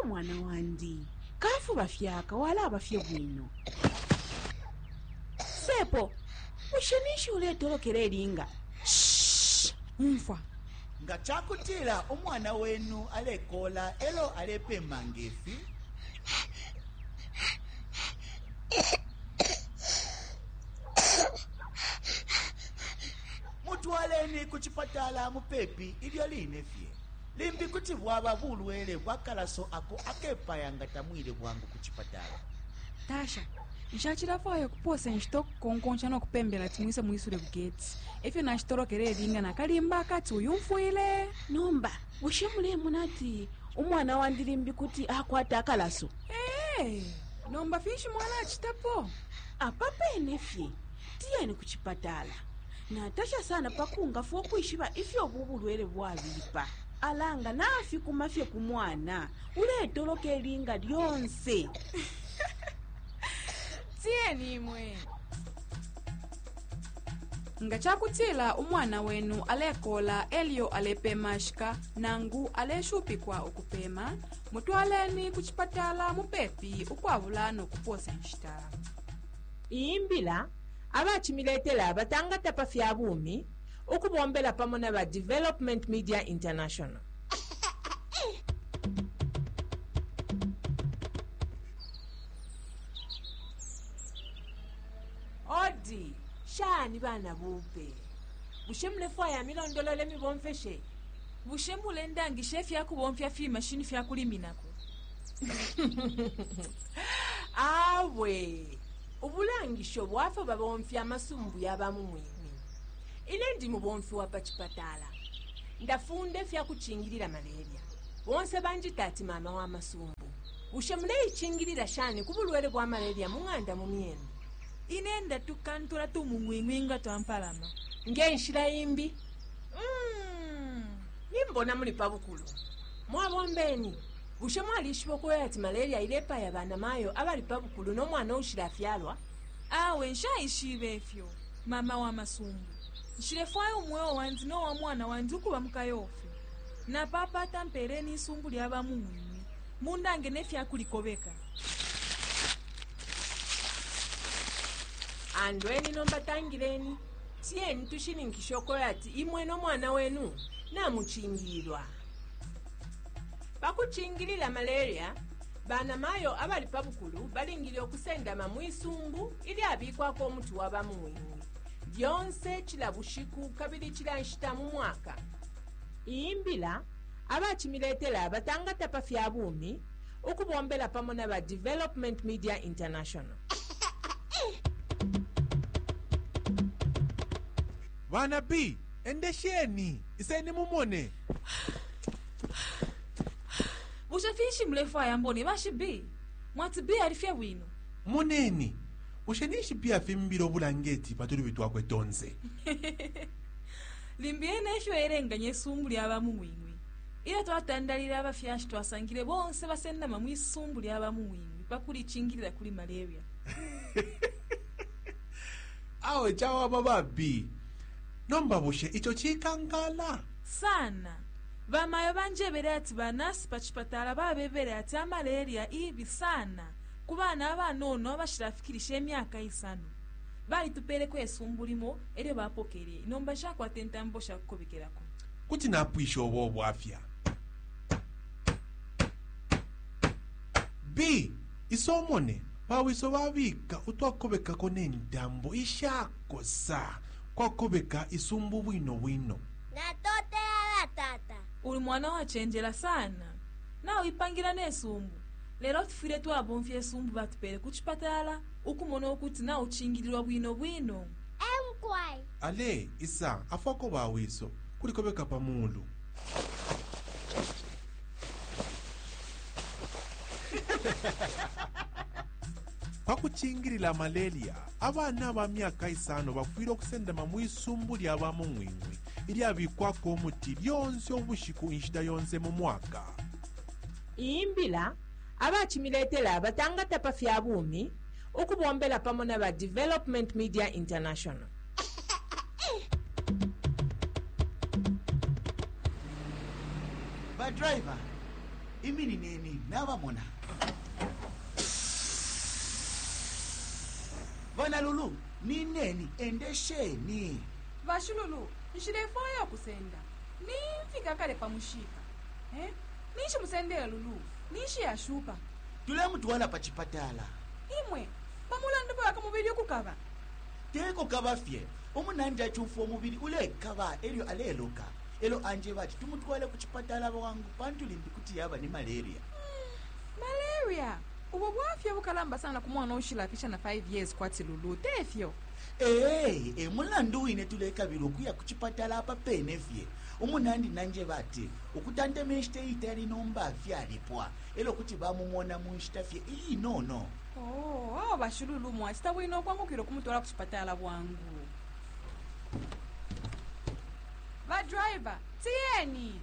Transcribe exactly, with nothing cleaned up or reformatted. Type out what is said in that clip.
Mwana wandi kafuba fyaka walaba fye bwino. Sepo, bushe ninshi uletolokela ilinga? Umfwa. Nga cakutila umwana wenu alekola elo alepema ngefi, mutwaleni ku chipatala mupepi ilyo line fye. Limbi kuti bwaba bulwele bwa kalaso ako akepaya nga tamwile bwangu ku chipatala. Tasha, nshachilafwaya kuposa nshita okukonkonsha nokupembela ati mwise mwisule ku geti. Efyo nashitolokela ilinga nakalimba akati uyumfwile. Nomba bushe mulemona ati umwana wandi limbi kuti akwata akalaso? Ee, nomba finshi mwana achitapo? Apa pene fye tiyeni ku chipatala. Natasha sana pakungafwa okwishiba ifyo ubu bulwele bwabipa. Alanga nafikuma fye ku mwana uletoloka ilinga lyonse. Tiyeni imwe. Nga cakutila umwana wenu alekola elyo alepema shika nangu aleshupikwa ukupema, mutwaleni ku chipatala mupepi ukwabula nokuposa nshita. Iyi mbila abachimiletela batangata pa fya bumi ukubombela pamo na ba Development Media International. Odi, shani bana bupe. Bushe mulefwaya milondolole mibomfeshe? Bushe mulendangisha ifyakubomfya fimashini fyakuliminako? Awe, ubulangisho bwafyo babomfya amasumbu yaba mu mwimi. Ine ndi mubomfi wa pa chipatala. Ndafunda ifyakuchingilila malaria. Bonse banjita ati mama wa masumbu. Bushe muleichingilila shani ku bulwele bwa malaria mu ng'anda mu myenu? Ine ndatukantula tumung'wing'wi nga twampalama. Ngenshila imbi. Mm, nimbona muli pabukulu. Mwabombeni. Bushe mwalishiba okuya ati malaria ilepaya banamayo abali pabukulu nomwana ushilafyalwa? Awe nshaishibe ifyo, mama wa masumbu. Nshilefwaya umweo wandi nowa mwana wandi ukuba mukayofi. Napapata mpereni isumbu lyaba mung'wing'wi. Mundange nefyakulikobeka. Andweni nomba tangileni. Tiyeni tushininkishe okuya ati imwe nomwana wenu namuchingilwa. Pakuchingilila malaria, banamayo abali pabukulu balingile okusendama mwisumbu ilyabikwako umuti wa bamung'wing'wi. Lyonse cila bushiku kabili cila nshita mu mwaka. Iyi mbila abachimiletela batangata pa fya bumi ukubombela pamo na ba Development Media International. Bana B, endesheni, iseni mumone. Bushe finshi mulefwaya mbone bashi B? Mwati B alifye bwino. Moneni, bushe ninshi B afimbile obulangeti patulubi twakwe tonse? Limbi ena efyo elenganya isumbu lyaba mung'wing'wi. Ilyo twatandalile abafyashi twasangile bonse basendama mwisumbu lyaba mung'wing'wi pakulichingilila kuli malaria. Awe chawama ba B. Nomba bushe icho chikankala? Sana. Bamayo banjebele ati banasi pa chipatala babebele ati amalaria ibi sana ku bana abanono abashilafikilisha emyaka isano. Balitupeleko isumbu limo elyo bapokele. Nomba nshakwata intambo shakukobekelako. Kuti napwisha obo bwafya. B, isomone bawiso babika utwakobekako nentambo ishakosa kwakobeka isumbu bwino bwino. Natotela tata. Uli mwana wachenjela sana. Nawipangira nesumbu. Lero tufwile twabomfya isumbu batupele ku chipatala ukumona okuti nauchingililwa bwino bwino. Emkwai. Ale isa afwako bawiso kulikobeka pamulu. Pakuchingilila malaria, abana ba myaka isano bafwile okusendama mwisumbu lya bamung'wing'wi ilyabikwako umuti lyonse ubushiku inshita yonse mu mwaka. Iyi mbila abachimiletela batangata pa fya bumi ukubombela pamo na ba Development Media International. Ba driver, Iminineni nabamona. Bana Lulu, nineni endesheni. Bashilulu, nshilefwaya ukusenda. Nimfika kale pa mushika. Eh? Ninshi musendele Lulu? Ninshi yashupa? Tulemutwala pa chipatala. Imwe, pamulandu bwaka mubili ukukaba. Teko kaba fye. Umunandi achumfwa umubili ulekaba elyo aleluka. Elo anje bati tumutwale ku chipatala bwangu pantu limbi kuti yaba ni malaria. Malaria. Ubo bwafya bukalamba sana ku mwana ushilafisha na five years kwati Lulu, tefyo. Ee, e mulandu wine tulekabila ukuya ku chipatala apa pene fye. Umunandi nanje bati ukutantama inshita iitali nomba fyalipwa. Elo kuti bamumona mu nshita fye iinono. Oh, awo bashilulu mwachita bwino okwangukira okumutwala ku chipatala bwangu. Ba driver, tiyeni.